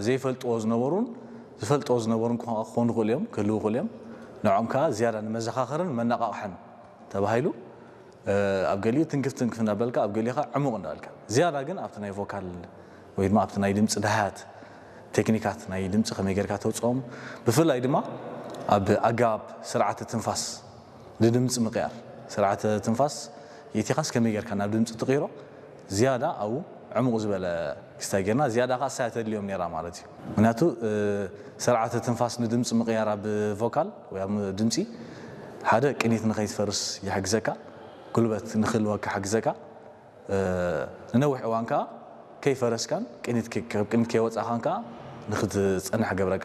ዘይፈልጥዎ ዝነበሩን ዝፈልጥዎ ዝነበሩን ክኾኑ ይኽእሉ እዮም፣ ክህልዉ ይኽእሉ እዮም። ንዕኦም ከዓ ዝያዳ ንመዘኻኸርን መነቓቕሕን ተባሂሉ ኣብ ገሊኡ ትንክፍ ትንክፍ እንዳበልካ ኣብ ገሊኡ ከዓ ዕሙቕ እንዳበልካ ዝያዳ ግን ኣብቲ ናይ ቮካል ወይ ድማ ኣብቲ ናይ ድምፂ ደሃያት ቴክኒካት ናይ ድምፂ ከመይ ጌርካ ተውፅኦም፣ ብፍላይ ድማ ኣብ ኣገባብ ስርዓተ ትንፋስ ንድምፂ ምቕያር፣ ስርዓተ ትንፋስ የቲኻስ ከመይ ጌርካ ናብ ድምፂ ትቕይሮ ዝያዳ ኣብኡ ዕሙቕ ዝበለ ክስታይ ጌርና ዝያዳ ከዓ ሳያ ተድልዮም ነይራ ማለት እዩ። ምክንያቱ ስርዓተ ትንፋስ ንድምፂ ምቕያር ኣብ ቮካል ወይ ኣብ ድምፂ ሓደ ቅኒት ንኸይትፈርስ ይሕግዘካ፣ ጉልበት ንኽህልወካ ይሕግዘካ፣ ንነዊሕ እዋን ከዓ ከይፈረስካን ቅኒት ከይወፃኻን ከዓ ንክትፀንሕ ገብረካ።